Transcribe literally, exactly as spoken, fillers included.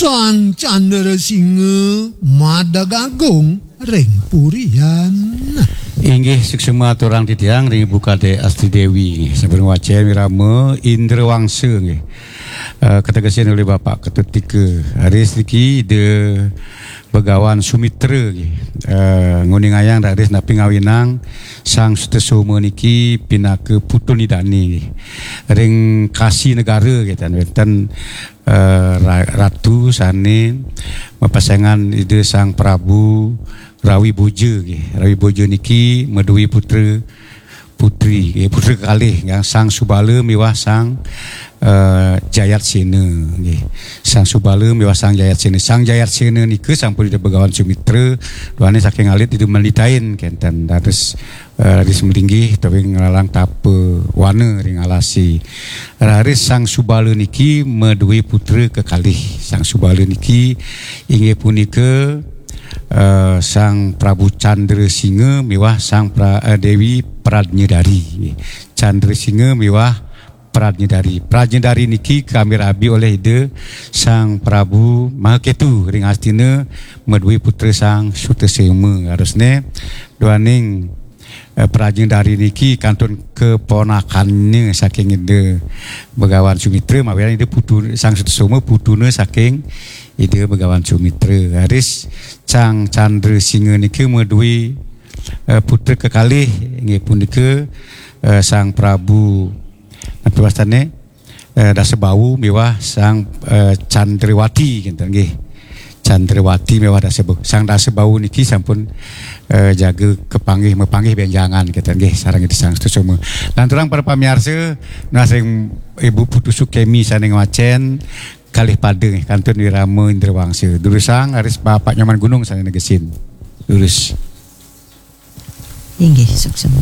Tan Candra Singa madeg agung ring purian. Inggih, suksma aturang titiang ring Ibu Kadek Asti Dewi. Sampun wacén wirama Indra Wangsa nggih. Eh, kategesin olih Bapak Ketut Tika. Raris niki Ida Begawan Sumitra nggih. Eh, nguningayang raris napi ngawinang Sang Sutasoma niki pinaka putun Ida dané nggih. Ring Kasi Negara nggih, tan wénten eh, ra-, ratu sané mapesengan Ida Sang Prabu Rawi Boja nggih. Rawi Boja niki madué putra putri nggih, putra kekalih nggih, Sang Subala miwah Sang eh, Jayatsena nggih. Sang Subala miwah Sang Jayatsena. Sang Jayatsena nika sampun Ida Begawan Sumitra, duaning saking alit Ida manditain kénten dados eh, raris malinggih utawi nglalang tapa wana ring alasé. Raris Sang Subala niki madué putra kekalih. Sang Subala niki inggih punika eh, Sang Prabu Candra Singa miwah Sang Pra, eh, Dewi Pradnyadari. Candresinga miwah Pradnyadari. Pradnyadari niki kami rabi olih Ida Sang Prabu Mahaketu ring Astina madué putra Sang Sutasoma. Harusné duaning eh, Pradnyadari niki kantun keponakannya saking Ida Begawan Sumitra, mawinan Ida putu Sang Sutasoma putuna saking Ida Begawan Sumitra. Raris Sang Candra Singa niki madué eh, putra kekalih inggih punika eh, Sang Prabu napi wastané eh, Dasabawu miwah Sang eh, Candrawati kinten nggih. Candrawati miwah Dasabawu. Sang Dasabawu niki sampun eh, jaga kepanggih mapanggih bénjangan kinten nggih sareng Ida Sang Sutasoma. Lanturang para pamiarsa, nunas ring Ibu Putu Sukemi sané ngwacén kalih pada nggih, kantun wirama Indra Wangsa. Durusang raris Bapak Nyoman Gunung sané negesin. Durus. Inggih, suksma.